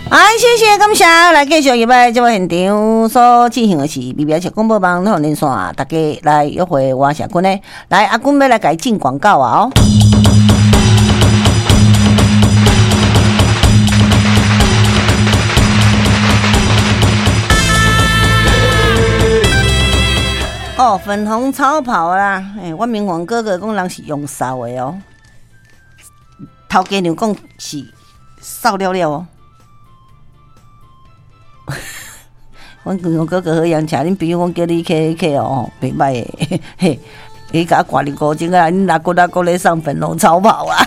哎，謝謝感謝，來繼續入來節目現場所進行的是 BBS 廣播網連線，大家來約會我是阿君呢，來阿君欲來共伊進廣告啊哦。哦，粉紅超跑啦！欸，我明黃哥哥講人是用掃的哦，頭家娘講是掃了了哦。阮明黃哥哥好洋車，恁朋友講叫你去去哦，袂歹的，嘿，伊共我掛認孤精啊，恁阿公阿公咧送粉紅超跑啊！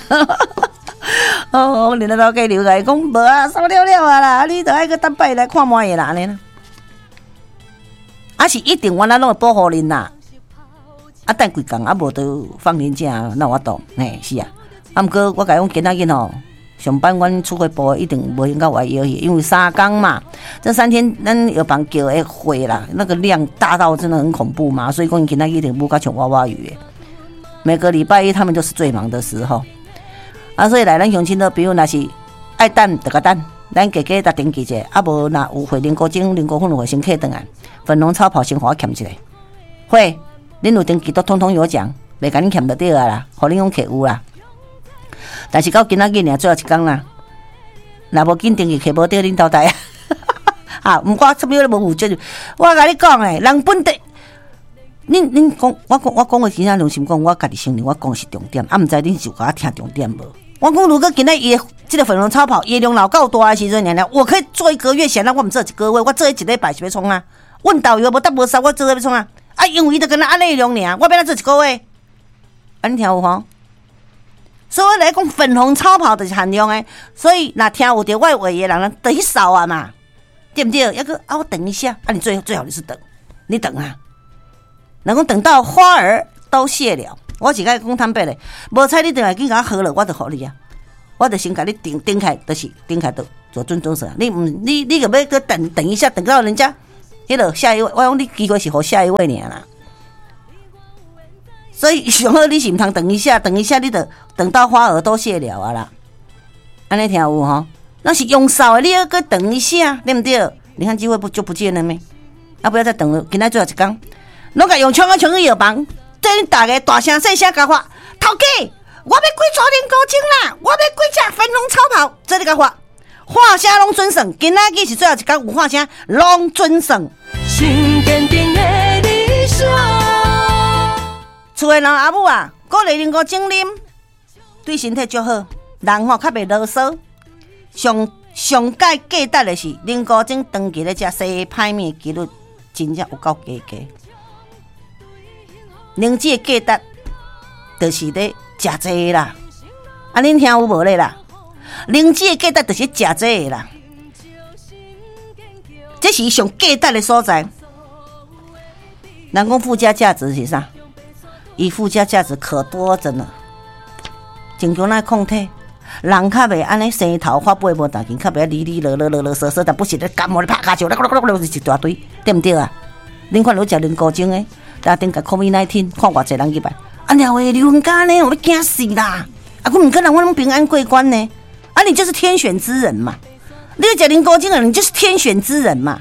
哦，恁老家娘共伊講無啊，掃了了啊啦，你著愛閣等擺來看覓啦按呢啦。啊是一定，阮咱攏會保護恁啦。啊，等幾工啊，無就放年假，哪有法度？嘿，是啊。啊，毋過我共伊講今仔日吼，上班阮出貨部一定無閒到外腰去，因為三工嘛。這三天咱藥房叫的貨啦，那個量大到真的很恐怖嘛，所以講今仔日一定無甲像娃娃魚的。每個禮拜一他們就是最忙的時候。啊，所以來咱鄉親的朋友，若是愛等就共等。咱加加登記者，啊無若有貨，林國晶、林國芬有貨先客轉來，粉紅超跑先予我欠一下。會，恁有登記都統統有獎，袂共恁欠就對啊啦，予恁講客有啦。但是到今仔日爾最後一工啦，若無緊登記客無著恁淘汰啊！啊，毋過啥物都無負責任，我共你講欸，人本地，恁恁講，我講我講話真正良心講，我家己承認我講是重點，啊，毋知恁是有共我聽重點無？我講如果今仔伊的這個粉紅超跑，伊的量若有夠大的時陣，爾爾，我可以做一個月，顯然我毋做一個月，我做一禮拜是欲創啊？阮導遊無得無殺，我做欲創啊？啊，因為伊就敢若按呢量爾，我欲按怎做一個月？啊，你聽有無？所以我來講粉紅超跑就是限量的，所以若聽有著我的話的人，就去掃啊嘛，對毋對？抑閣啊，我等一下，啊，你最最好你是等，你等啊。人講等到花兒都謝了，我是共伊講坦白咧，無彩你轉來緊共我好了，我就予你啊，我就先共你頂頂開，就是頂開就做準準算。你毋你你閣欲閣等等一下，等到人家彼落下一位，我講你機會是予下一位爾啦。所以上好你是毋通等一下，等一下你就等到花兒都謝了啊啦。按呢聽有吼？那是用掃的，你猶閣等一下，對毋對？你看機會不就不見了咩？啊，不要再等了，今仔最後一工，攏共用搶啊搶去藥房，對恁逐家大聲細聲共發，頭家，我欲幾撮靈菇精啦，我欲幾隻粉紅超跑，這你共發，喊聲攏準算，今仔日是最後一工，有喊聲攏準算。厝的人阿母啊，鼓勵靈菇精啉，對身體足好，人吼較袂囉嗦。上上蓋價值的是靈菇精長期咧食，生歹物的幾率真正有夠低低。靈芝的價值就是咧食這个啦，啊，恁聽有無咧啦？靈芝的價值就是食這个啦，這是伊上價值的所在。人講附加價值是啥？伊附加價值可多着呢，增強咱抗體，人較袂按呢生頭髮尾無當緊，較袂哩哩囉囉囉囉嗦嗦，但不時咧感冒咧拍跤手，一大堆，對毋對啊？恁看有食靈菇精的，但頂個 COVID-19 看偌濟人入來，啊娘喂，劉文剛呢？我欲驚死啦！啊，毋過人我攏平安過關呢，啊，你就是天選之人嘛！你食靈菇精的，你就是天選之人嘛！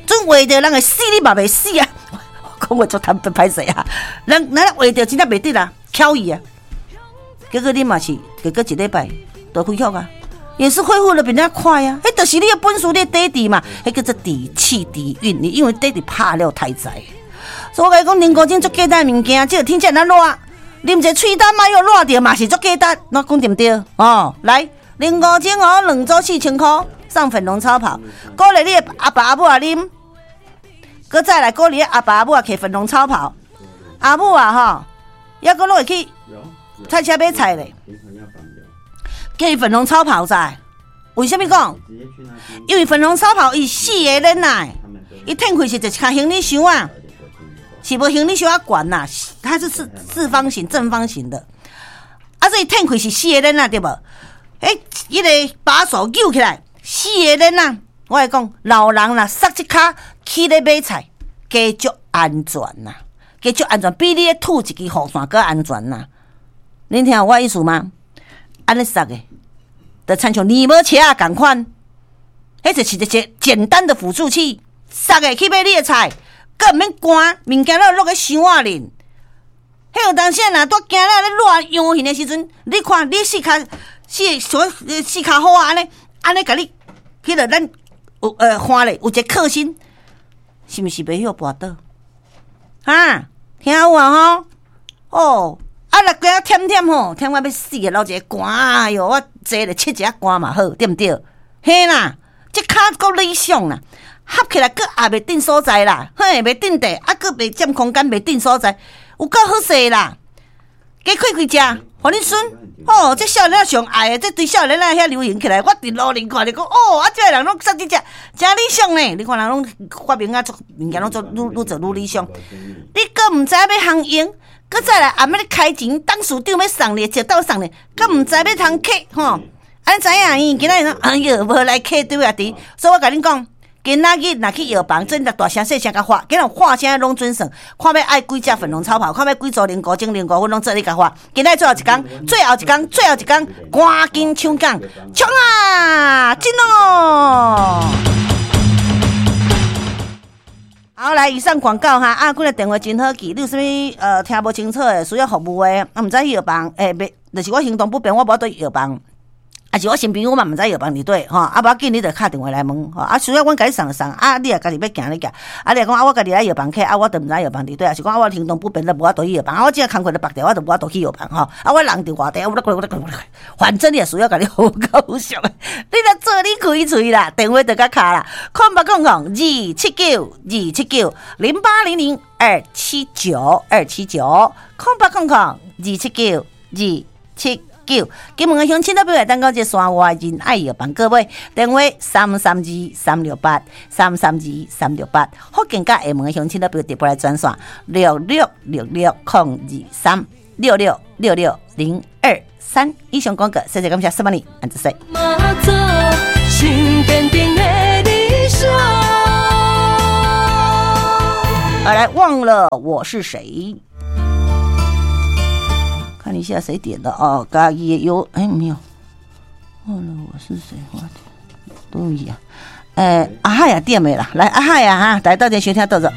準畫著人會死，你嘛袂死啊！講話足坦白歹勢啊！人咱畫著真正袂得啦，巧伊啊！結果你嘛是，結果一禮拜就恢復啊，也是恢復得比人家快啊！彼就是你的本事，你的底底嘛，彼叫做底氣底蘊。你因為底底拍了太濟，所以我共你講，靈菇精足簡單的物件，這個天氣若熱，啉一个喙焦莫又熱著嘛是足簡單，我講對毋對？哦，來，靈菇精哦，兩組4000箍送粉紅超跑，鼓勵你的阿爸阿母也啉。閣再來鼓勵阿爸阿母也騎粉紅超跑，阿母啊吼，抑閣攏會去菜市買菜咧，叫伊粉紅超跑在。為啥物講？因為粉紅超跑伊四个輪仔，伊褪開是一個行李箱啊，是無行李箱仔懸啦，它是四四方形、正方形的，啊，所以褪開是四個輪仔對無？欸，彼個把手扭起來，四個輪仔。我來講，老人若捒這跤去咧買菜，加足安全啦，加足安全，比你咧吐一支雨傘閣安全啦。恁聽有我意思嗎？按呢捒的，就親像泥摩車仔仝款，彼就是一个簡單的輔助器，捒的去買你的菜，閣毋免寒，物件攏落咧箱仔裡。彼有當時若拄驚了咧熱陽形的時陣，你看你四跤四所四跤虎仔按呢按呢共你，彼个咱有看咧有一个克星，是毋是袂曉跋倒？哈，聽有啊吼？哦，啊若驚忝忝吼，忝到欲死啊，流一个汗，哎喲，我坐咧拭一下汗嘛好，對毋對？嘿啦，這跤閣理想啦，合起來閣也袂鎮所在啦，嘿，袂鎮地，啊，閣袂佔空間，袂鎮所在，有夠好勢啦！加開幾隻，予恁孫，哦，這少年仔上愛的，這對少年仔遐流行起來，我佇路頂看著講，哦，啊，這个人攏說這隻，誠理想呢。你看人攏發明啊，做物件攏做愈愈做愈理想。你閣毋知欲通用，閣再來暗欲咧開錢，董事長欲送你，一道送你，閣毋知欲通客吼。按知影伊今仔日哎喲，無來客對啊佇，所以我共恁講，今仔日若去藥房，真大聲細聲共喊，今仔喊聲攏準算，看欲愛幾隻粉龍超跑，看欲幾組靈菇精、靈菇粉，攏做你共喊。今仔最後一工，最後一工，最後一工，趕緊搶講，衝啊！進哦！好，來，以上廣告哈，啊，幾个電話真好記，你有啥物聽無清楚的，需要服務的，啊，毋知去藥房，欸，袂，就是我行動不便，我無法度去藥房。啊是我身邊我嘛毋知藥房佇佗吼，啊無要緊，你就敲電話來問吼，啊需要阮共你送就送，啊你若家己欲行你行，啊你若講啊我家己來藥房客，啊我就毋知藥房佇佗，啊是講啊我行動不便，就無法度去藥房，啊我這工課咧縛掉，我就無法度去藥房吼，啊我人佇外地，我反正你若需要共你好夠俗，你若做你開喙啦，電話就共敲啦，0800 279 279，0800 279 279，0800 279 279。金門的鄉親都欲來等到這山外仁愛藥房各位電話332368332368，福建佮廈門的鄉親都欲直撥來專線6666023 6666023。以上廣告，謝謝感謝，什麼你，安子說。好來，忘了我是誰。看一下誰點的哦，家己有哎沒有？忘了我是誰，我對呀，欸，阿海也點的啦，來阿海啊哈，來到這收聽到這。